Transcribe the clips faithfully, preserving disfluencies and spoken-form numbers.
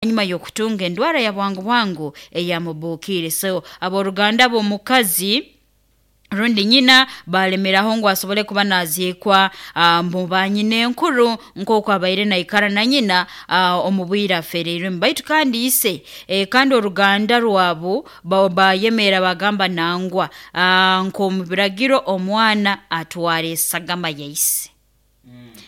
Hanyuma y'okutunga endwara ya bwangu bwangu eyamubuukire. So abooruganda b'omukazi rundi nyina balemeraho ngu asobole kuba naziikwa uh, mu banyina enkuru nk'oku abaire naikara na nyina uh, omu bwire afereirwemu. Baitu kandi ise eh, kandi oruganda rwabu bayemeera bagamba nangwa uh, nk'omu biragiro omwana atwara esagama ya ise,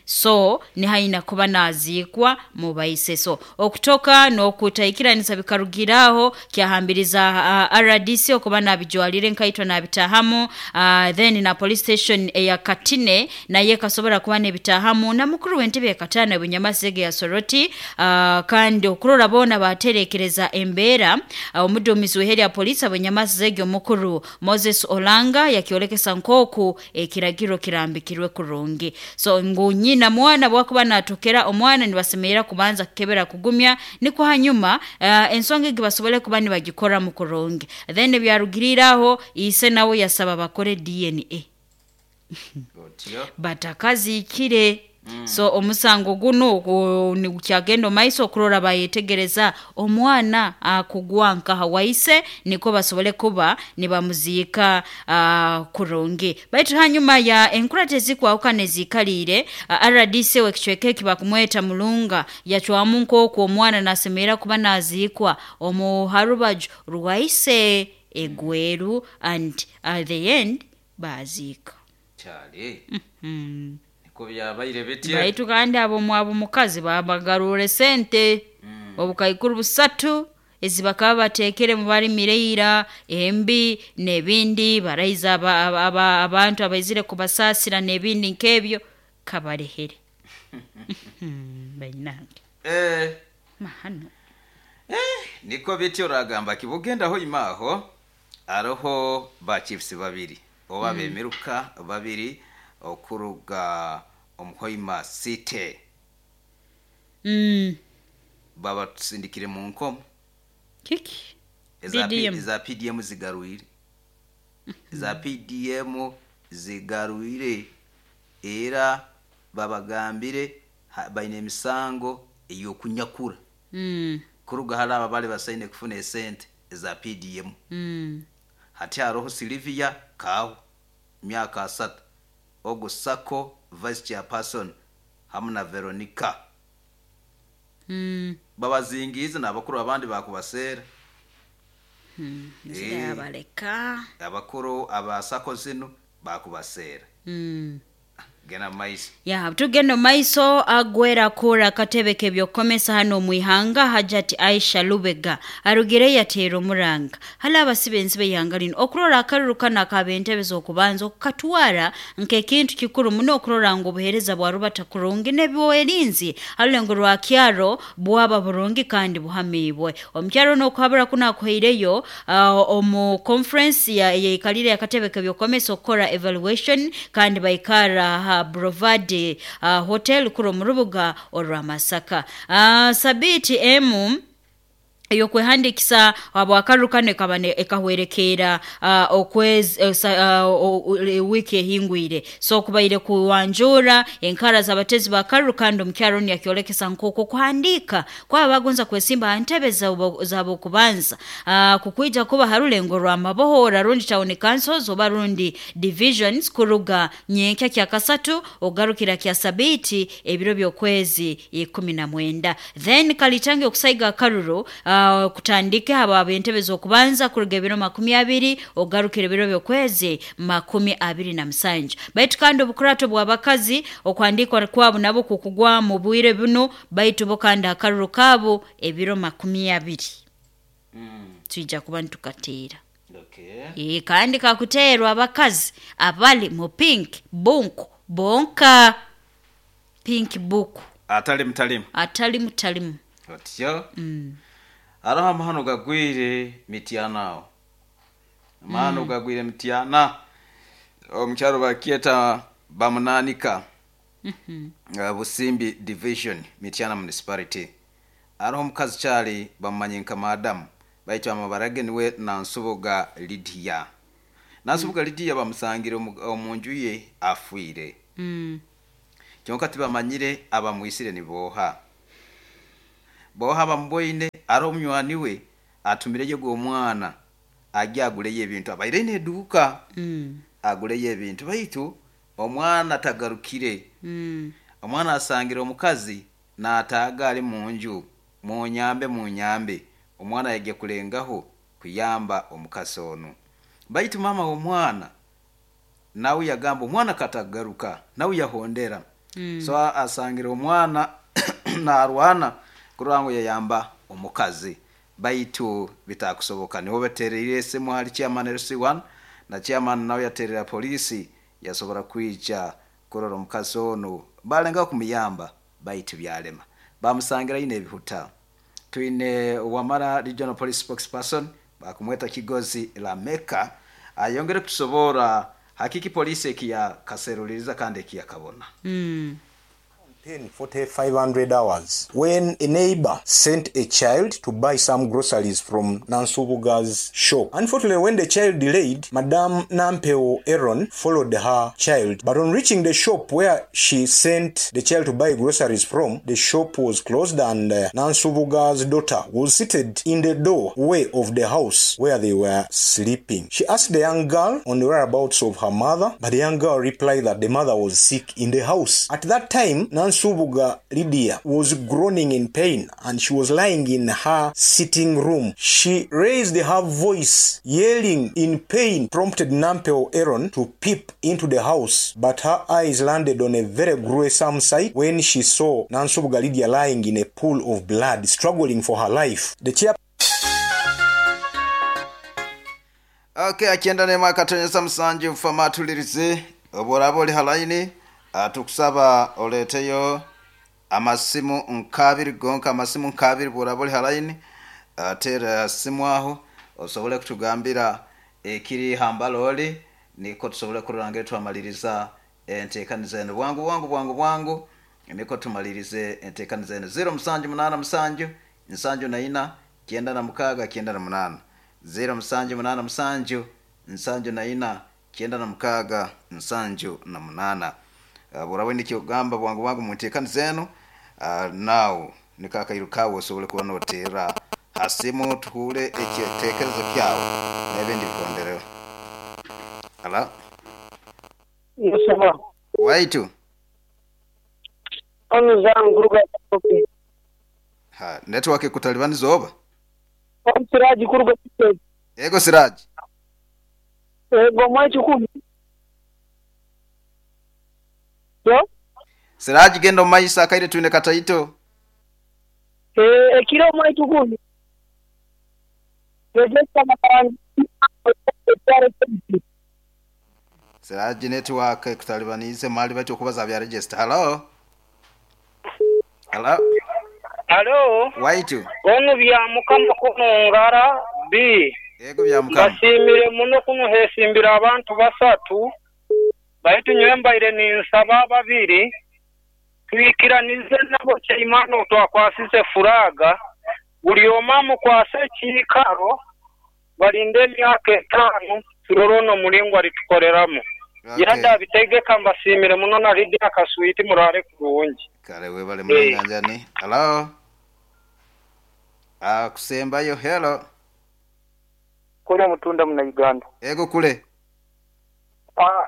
so nihaina kuba naziikwa mu baise. So okutoka n'okutaikiranisa bikarugiraho kyahambiriza uh, R D C okuba nabijwalire nkaitwa nabitahamu, uh, then na police station eya Katine naye ekasobora kuba nebitahamu, na mukuru w'entebe ya Katana Bunyamasege ya Soroti, uh, kandi okurora boona baterekereza embeera. uh, omuduumizi w'iheri ya polisi Bunyamasege omukuru Moses Olanga yakyolekesa nk'oku ekiragiro kirambikirwe kurungi, so ngu nyina mwana bwakuba natokera omwana nibasemerera kubanza kukebera kugumya, nikwo hanyuma uh, ensonga egi basobole kuba nibagikoramu kurungi. Then byarugiriraho ise nawe yasaba bakore D N A Otyo. Batakaziikire mm. So omusango guno nigukyagenda omumaiso okurora bayetegereza omwana akugwa nkaha waise, niko basobole kuba nibamuziika uh, kurungi. Baitu hanyuma ya enkurata ezikwahukana eziikaliire, uh, R D C w'ekicweka eki bakumweta Mulunga yacwamu nk'oku omwana nasemerera kuba naziikwa omu harubaju rwaise egweru, and at the end baziika. Kyale. Mm. Niko byabaire bityo. Baitu kandi abo mwabo mukazi babagarure sente Mm. obukaikuru busatu ezi bakaba bateekere mu balimire ira embi n'ebindi baraiza aba, aba, aba, abantu abaizire kubasaasira n'ebindi nk'ebyo kabarehere bainange. Eh, Mahano. Niko bityo. Oragamba kibugenda hoima aroho ba chiefs babiri oba bemiruka babiri okuruga omuhoima city mm. babatusindikire mu nkomo. Kiki? Eza P- P D M. Eza P D M zigarwire, eza P D M zigarwire, era babagambire ha- baine emisango ey'okunyakura mm. kuruga hali aba bali basaine kufuna esente eza P D M. Mm. Hati haroho Silivia Kahu, myaka asatu, ogu sako vice chairperson, hamu na Veronica. Mm. Babazingiize n'abakuru abandi bakubaseera. Nzira yabaleka. Abakuru abasako zinu bakubaseera. mm. Genda mumaiso. Ya, tugenda maiso. Agwera kura akatebe k'ebyokukomesa hano omwihanga Hajati Aisha Lubega arugire yateera omuranga hali abasiba ensibe ihanga lino okurora akaruru kano akabentebe z'okubanza okukatwara nk'ekintu kikuru muno okurora ngu obuheereza bwa rubata kurungi n'ebyoerinzi harulengo rwa kyaro bwaba burungi kandi buhamiibwe. Omukyaro n'okuhabura kuno akuhaireyo uh, omu conference ya yeikalire akatebe k'ebyokukomesa okukora evaluation, kandi baikara ha Brovad uh, Hotel kuro mu rubuga orwa Masaka. uh, sabiti emu ey'okwehandikisa habwakaruru kano ekaba ne- ekahwerekeera uh, okwezi uh, sa- uh, o- o- wiiki ehingwire. So kubaire kuwanjura enkara z'abatezi ba karuru, kandi omukyaro onu yakyolekesa nk'oku okuhandiika kwaba bagonza kwesimba ha ntebe zabo z'abokubanza uh, kukwija kuba ha rulengo rwa mabohora rundi town councils oba rundi divisions kuruga nyenkya kya kasatu ogarukira kya sabiti ebiro by'okwezi ikumi na mwenda. Then kalitange okusaiga akaruru uh, kutandike haba ab'entebe z'okubanza kuruga ebiro makumi abiri ogarukira ebiro by'okwezi makumi abiri na musanju. Baitu kandi obukurato bw'abakazi okuhandikwa kwabo nabo kukugwa mu bwire buno, baitu bo kandi akaruru kaabo ebiro makumi abiri twija kuba nitukateera. Okay. Ee, kandi kakuteerwa abakazi abali mu pink book bonka, pink book. Atali mutalimu. Atali mutalimu. Otyo. Hariho amahano gagwire Mityana aho, amahano gagwire Mityana omukyaro bakyeta Bamunanika, uh, Busimbi Division, Mityana Municipality. Hariho omukazi kyali bamumanye nka madamu, baitu amabara ge niwe Nansubuga Lidiya. Nansubuga Lidiya bamusangire omu- omu nju ye afiire. mm. Kyonka tibamanyire abamwisire niboha. Boha bamboine ari omunywani we atumireyo gw'omwana ajya aguleyo ebintu abaire n'eduuka Mm. aguleyo ebintu baitu omwana tagarukire. Mm. Omwana asangira omukazi n'ataaga ali mu nju, munyambe munyambe. Omwana yajja kulengaho kuyamba omukazi ono, baitu mama w'omwana nawe yagamba omwana katagaruka, nawe yahondera. Mm. So asangira omwana narwana kurora ngu yayamba omukazi, baitu bitakusoboka. Niho batereire esimu hali chairman L C one, na chairman nawe yaterera polisi yasobora kwija kurora omukazi ono, balenga kumuyamba baitu byalema, bamusangira ine ebihuta. Twine Wamala Regional Police Spokesperson bakumweta Kigozi Lameka ayongere kutusobora hakiki polisi ekiya kaseruliriza kandi ekiya kabona. Mm. ten forty-five hundred hours when a neighbor sent a child to buy some groceries from Nansubuga's shop. Unfortunately, when the child delayed, Madame Nampeo Aaron followed her child. But on reaching the shop where she sent the child to buy groceries from, the shop was closed and, uh, Nansubuga's daughter was seated in the doorway of the house where they were sleeping. She asked the young girl on the whereabouts of her mother, but the young girl replied that the mother was sick in the house. At that time, Nansubuga Lydia was groaning in pain and she was lying in her sitting room. She raised her voice, yelling in pain, prompted Nampeo Aaron to peep into the house, but her eyes landed on a very gruesome sight when she saw Nansubuga Lydia lying in a pool of blood, struggling for her life. The chair Okay, akienda ne mwaka tonyesa musanju fama tulirize oborabo oli halaini atukusaba oleteyo amasimu nkabiri gonka amasimu nkabiri borabo oli halaini atera simu aho osobole kutugambira ekiri hambaloli niko tusobole kurangira twamaliriza enteekaniza eno bwangu bwangu bwangu bwangu niko tumalirize enteekaniza eno zero musanju munana musanju nsanju na ina kienda na mukaga kienda na munana zero musanju munana musanju nsanju na ina kienda na mukaga nsanju na munana. Uh, burawe nikyo gamba bwangu bwangu munteekaniza eno uh, nawo nikakairukawo osobole kuba notera hasimu tuhule ekitekerezo kyawe n'ebindi bikondereho. Ala Yosema waitu onu zangu ruga toke ha network kutalibani zoba on Siraji kuruga toke ego Siraji ego mwachu kumi yo Siraji gendo maisa kaire tuine kataito eh ekiro mwachu kumi register makarani Siraji network kutalibanize mali bacho kubaza bya register. Hello hello hello waitu onu bya mukama kunungara b ego bya mukama basimire muno kunuhesimbira abantu basatu baitu nyembaire ni nsaba babiri twikiranize nabo kyimano twakwasize furaga buli omamu kwase kikaro balinde emyaka etano turorono mulingo alitukoreramu. Okay. Yada bitegeka mbasimire muno na Lydia Kasuiti murare kurungi. Kale webale mulanganjani. Hello. Ah kusembayo hello. Kule mutunda muna Uganda. Ego kule. Ah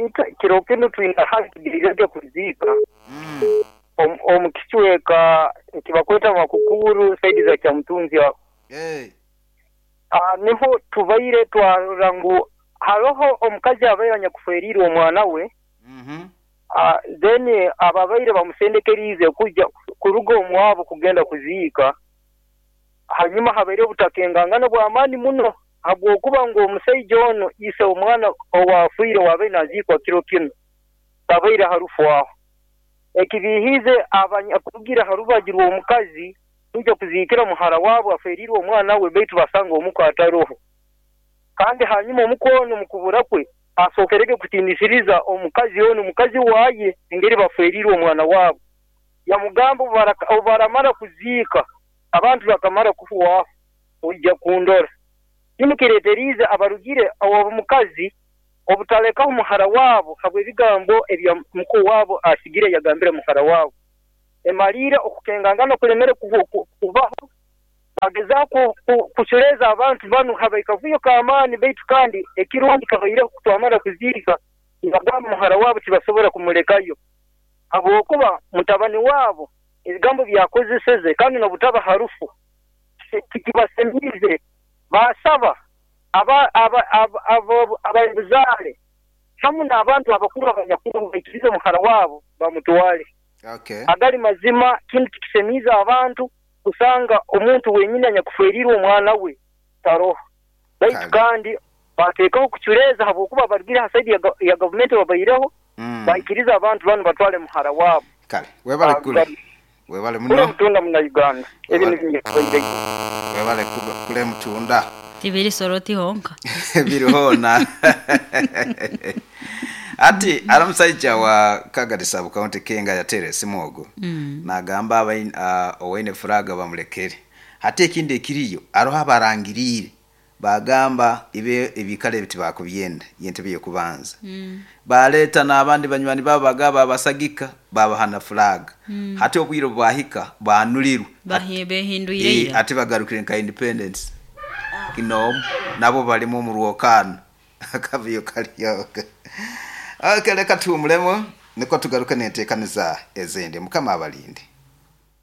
ita kirokendo tuina haki dirige kuzika. Mm. Om omukichweka kibakweta makukuru saidi za kyamtunzi wa. Eh. Hey. Ah niho tubaire twarangu haroho omukazi abaire nyakuferirwe omwana we. Mhm. Ah then ababaire bamusendekerize kujja kuruga omwabo kugenda kuziika. Hanyuma habaire obutakengangana bw'amaani muno habwokuba ngu omusajja ono ise omwana owafiire wabaire naziikwa kiro kino tabaire harufu aho ekibihize abanyakugira harubagirwa omukazi tujja kuziikira muhara wabo aferirwe omwana we baitu basanga omuko ataroho. Kandi hanyuma omukono mukubura kwe asokerege kutinisiriza omukazi ono mukazi waye engeri baferirwe omwana wabo yamugamba obaramara kuziika abantu bakamara kufuwa ojja kundora nimukireterize abarugire abo mukazi obutaleka omuhara wabo habwe bigambo ebya mukuru wabo asigire yagambire muhara wabo. Emaliire okukengangana kulemere kubaho, bagezaho kuculeeza abantu banu habaire kavuyo k'amaani, baitu kandi ekirungi kabaireho kutwamara kuziika nibagamba muhara waabo tibasobora kumulekayo habwokuba mutabani waabo ebigambo byakozeseze kandi n'obutaba harufu tikibasemiize. Baasaba ababuzaale hamu n'abantu abakuru abanyakuru baikirize muhara waabo bamutwale. Okay. Agali mazima kinu tikisemiize abantu kusanga omuntu wenyini anyakuferirwe omwana we taroho. Baitu kandi bateekaho kuculeeza habwokuba barugire ha saidi ya gavumenti babaireho, mm. baikiriza abantu banu batwale muhara waabo. Kale webale kule webale muno kule mutunda muna Uganda ebi nibyo webale kule mutunda tibiri soroti honka biri hona. Ati ara musaija wa Kagadi sub county Kenga yatere simu mm. nagamba abain uh, owaine furaga bamulekere. Hati ekindi ekiriyo aroho abarangirire bagamba ibe ebikale biti bakubyenda yentebe yokubanza mm. baleta n'abandi banywani babo bagaba abasagika babahana flag mm. hati obwiro bwahika banulirwe bahinduire ati bagarukire nka independence ah. Kino nabo balimu mu rwokano akavuyo kaliyo. Okay, leka tuumulemo niko tugaruke nenteekaniza ezindi. Mukama abalinde.